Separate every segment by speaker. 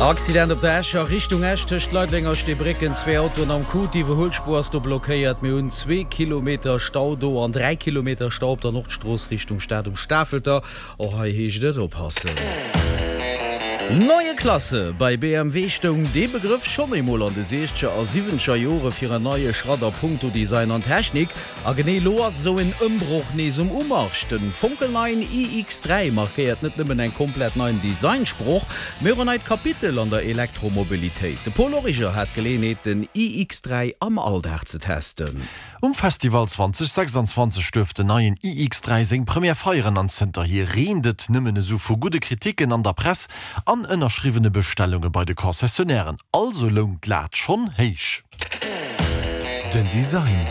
Speaker 1: Accident op der Escher Richtung Esch tëscht Leideleng a Steebrécken, zwee Autoen am Coup, d'Iwwerhuelspuer ass do blockéiert. Mir hunn zwee Kilometer Stau do an 3 Kilometer Stau op der Nordstrooss Richtung Stad um Stafelter. Och hei heescht et oppassen. Neue Klasse, Bei BMW stoung dee Begrëff schonn eemol an de siechzeger a siwwenzeger Jore fir en neie Schratt a punkto Design an Technik. A genee elo ass esou en Ëmbroch nees um Umarsch. De fonkelneien iX3 markéiert net nëmmen eng komplett neien Designsproch, mee och en neit Kapitel an der Elektromobilitéit. De Paul Origer hat d'Geleeënheet, den iX3 am Alldag ze testen.
Speaker 2: Um Festival 2026 duerft den neien iX3 seng Première feieren an zënterhier reent et nëmmen esou vu gudde Kriticken an der Press an ënnerschriwwene Bestellunge bei de Concessionairen. Also loung d'Lat schonn héich.
Speaker 3: Den Design.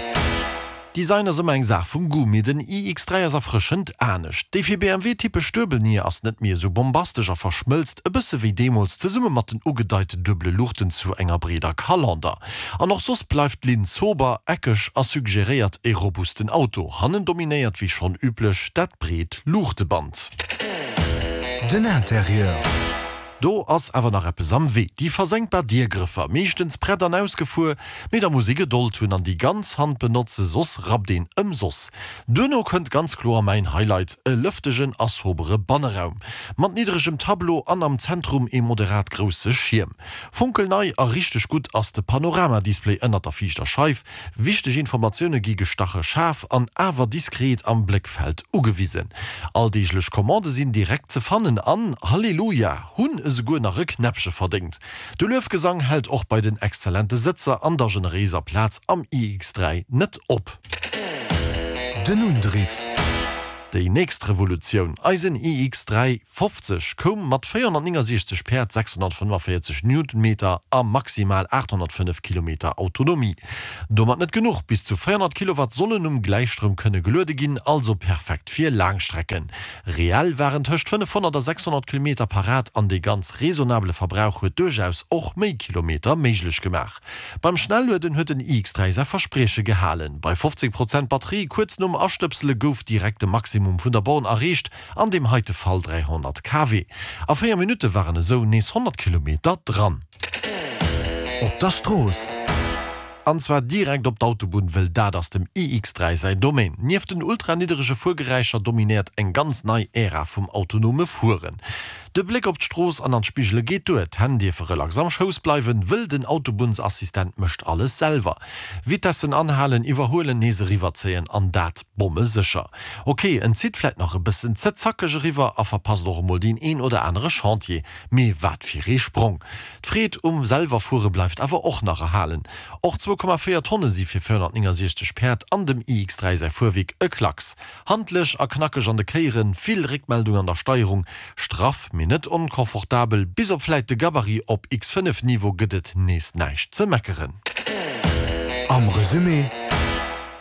Speaker 2: Design ass ëmmer eng Saach vum Goût, mee den iX3 ass erfrëschend anescht. Déi fir BMW typesch Duebelnier ass net méi esou bombastesch a verschmëlzt e bësse wéi deemools zesumme mat den ugedeiten duebele Luuchten zu enger breeder Kalander. An och soss bleift d'Linn sober, eckeg a suggeréiert e robusten Auto. Hannen dominéiert wéi schonn üblech dat breet Luuchteband.
Speaker 3: Den Interieur.
Speaker 2: Do ass awer nach eppes am Wee, déi versenkbar Diergrëffer, meeschtens prett an ausgefuer, mee da muss ee Gedold hunn an déi ganz Hand benotze, soss rappt een ëmsoss. Duerno kënnt ganz kloer mäin Highlight, e lëftegen a sobere Banneraum, mat niddregem Tableau an am Zentrum ee moderat grousse Schierm. Fonkelnei a richteg gutt ass de Panoramadisplay ënnert der viischter Scheif, Wichteg Informatioune gi gestache schaarf an awer diskret am Bléckfeld ugewisen. Alldeeglech Commandë sinn direkt ze fannen an, Halleluja, hunn esouguer nach e Knäppche verdéngt. De Luefgesang hält och bei den exzellente Sëtzer an der generéiser Plaz am iX3 net op.
Speaker 3: Den Undriff.
Speaker 2: Déi nächst Revolutioun, eisen iX3 50, koum mat 469 Päerd, 645 Newtonmeter a maximal 805 Kilometer Autonomie. Domat net genuch, bis zu 400 Kilowatt sollen um Gläichstroum kënne geluede ginn, also perfekt fir Laangstrecken. Reell waren tëscht 500 a 600 Kilometer parat an dee ganz raisonnabele Verbrauch huet duerchaus och méi Kilometer méiglech gemaach. Beim Schnellueden huet den iX3 säi Versprieche gehalen. Bei 15 Prozent Batterie kuerz nom Astëpsele gouf direkt de Maximum vun der Born erreecht, an deem heite Fall 300 kW. A 4 Minutte waren esou nees 100 Kilometer dran.
Speaker 3: Op der Strooss.
Speaker 2: An zwar direkt op d'Autobunn, wëll dat ass dem iX3 säi Domaine. Nieft den ultra-nidderege Fuergeräischer dominéiert eng ganz nei Ära vum autonome Fueren. De Bléck op d'Strooss an an d'Spigele geet duer, d'Hänn dierfe relax am Schouss bleiwen, wëll den Autobunnsassistent mécht alles selwer. Vitessen anhalen, iwwerhuelen, nees eriwwerzéien an dat bommesécher. Ok, en zitt vläit nach e bëssen ze zackeg eriwwer a verpasst och emol deen een oder anere Chantier, mee wat fir ee Sprong! D'Freed um selwer fuere bleift awer och nach erhalen. Och 2,4 Tonne si fir 469 Päerd an dem iX3 säi Fuerwierk e Klacks. Handlech a knackeg an de Kéieren, vill Réckmeldung an der Steierung, straff mee net onconfortabel, bis op vläit de Gabarit op X5 Niveau gëtt et nees näischt ze meckeren.
Speaker 3: Am Resumé.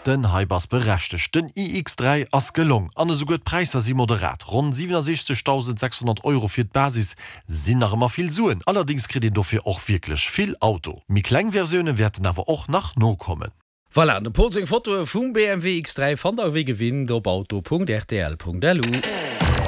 Speaker 2: Den Hype ass berechtegt, den iX3 ass gelong an esouguer d'Präisser si moderat, ronn 67.600 Euro fir d'Basis sinn nach ëmmer vill Suen, allerdéngs kritt een dofir och wierklech vill Auto. Méi kleng Versioune wäerten awer och nach nokommen.
Speaker 1: Voilà, dem Paul seng Fotoe vum BMW X3 fannt der wéi gewinnt op auto.rtl.lu.